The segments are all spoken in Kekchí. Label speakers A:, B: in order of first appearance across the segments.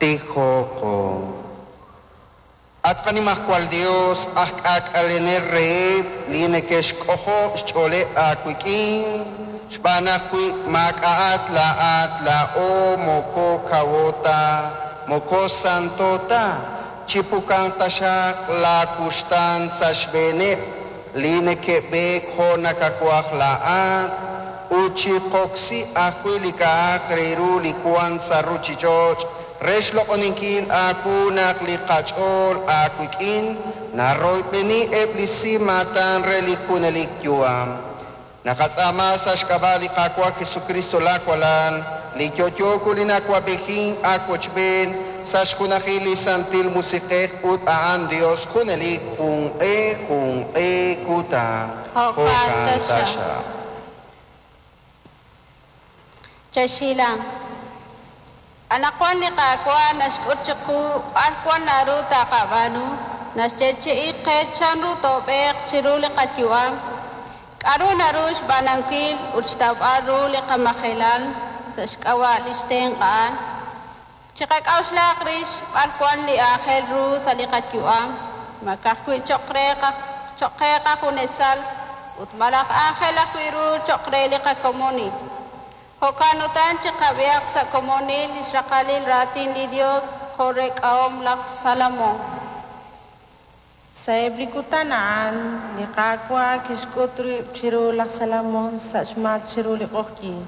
A: Tijoqo. At qaNimajwal Yos, aj k'aak'alenel reheb' li neke'xk'ojob' xch'ooleb' aawik'in, xb'aan naq wi maak'a'at laa'at, laa'o moko kawo ta, moko santo ta. Chipukanq taxaq laawuxtaan sa' xb'eeneb' li neke'b'eek jo' nakawaj laa'at, ut chiqoksi ajwi' li k'a'aq re ru li wank sa' ruuchich'och' re xloq'oninkil aawu naq li qach'ool aawik'in naroyb'eni eb' li si maatan re li junelik yu'am. Naqatz'aama sa' xk'ab'a' li Qaawa' Jesucristo laawalal, li yo'yo li nawab'ejin aawochb'een sa' xjunajil li Santil Musiq'ej ut a'an Dios junelik junq'e junq'e kutan.
B: Jo'kan taxaq. Chexhilanq. Anaqwan li Qaawa' naxk'ut chiqu b'ar wan naru taqab'aanu, naxyeechi'i qe chanru toob'eeq chiru li qayu'am, k'aru naru xb'aanunkil ut xtawb'al ru li qamajelal sa' xk'ab'a' li xtenq' a'an. Chiqak'a'uxlaq rix b'ar wan li aajel ru sa' li qayu'am, ma ka'ajwi' cho'q re cho'q qe qajunesal ut malaj aajel ajwi' ru cho'q re li qakomonil. Jo'kan utan chiqab'ihaq sa' komonil li xraqalil raatin li Dios jo' reek'ahom laj Salomón.
C: Sa'eb' li kutan a'an, li Qaawa' kixk'ut rib' chiru laj Salomón sa' xmatk chiru li q'oqyink.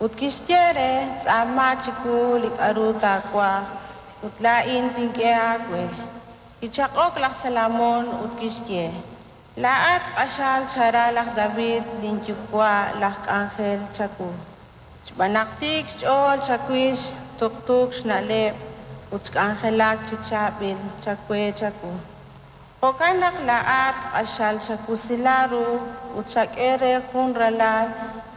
C: Ut kixye re: Tz'aama chiwu li k'aru taawaj, ut laa'in tink'e aawe. Kichaq'ok laj Salomón ut kixye: Laa'at q'axal xara laj David linyuwa' laj k'anjel chawu. Xb'aan naq tiik xch'ool chawix, tuqtuuk xna'leb' ut xk'anjelak chi chaab'il chawe chawu. Jo'kan naq laa'at q'axal xawusila ru ut xak'e re jun ralal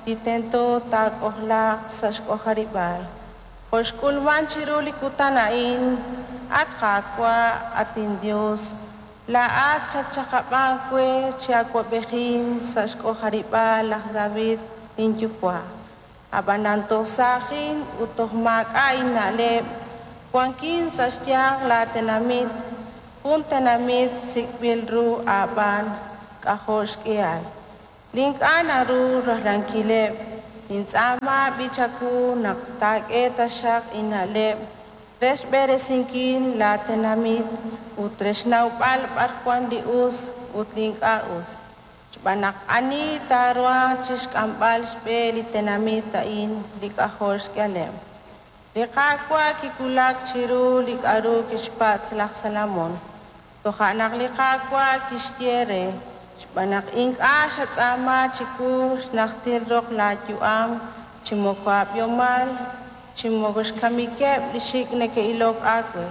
C: li tento taak'ojlaaq sa' xk'ojarib'aal. Jo' xk'ulmank chiru li kutan a'in, at Qaawa', at inYos, laa'at xatxaqab'ank we chi awab'ejink sa' xk'ojarib'aal laj David linyuwa'. Ab'anan toj saajin ut toj maak'a' inna'leb', wankin sa' xyanq laatenamit, jun tenamit sik'b'il ru aab'aan k'ajo' xk'ihal, li ink'a' naru rajlankileb'. Nintz'aama b'i' chawu naq taak'e taxaq inna'leb' re xb'eresinkil laatenamit ut re xnawb'al b'ar wank li us ut li ink'a' us. Xb'aan naq ani taaruhanq chi xk'amb'al xb'e li tenamit a'in li k'ajo' xk'ihaleb'? Li Qaawa' kiwulak chiru li k'aru kixpatz' laj Salomón. Toja' naq li Qaawa' kixye re: Xb'aan naq ink'a' xatz'aama chiwu xnajtil roq laayu'am, chi moko aab'ihomal, chi moko xkamikeb' li xik' neke'ilok aawe.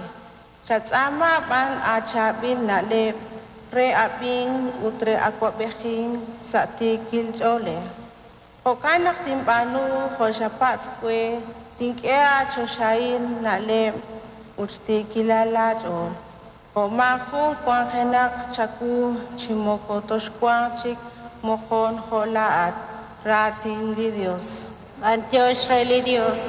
C: Xatz'aama b'an aachaab'il na'leb' re ab'ink ut re awab'ejink sa' tiikil ch'oolej. Jo'kan naq tinb'aanu jo' xapatz' we, tink'e aachoxahil na'leb' ut xtiikilal laach'ool. Jo' maajun wanjenaq chawu chi moko toxwanq chik moqon jo' laa'at. Raatin li Yos.
B: B'antiox re li Dios.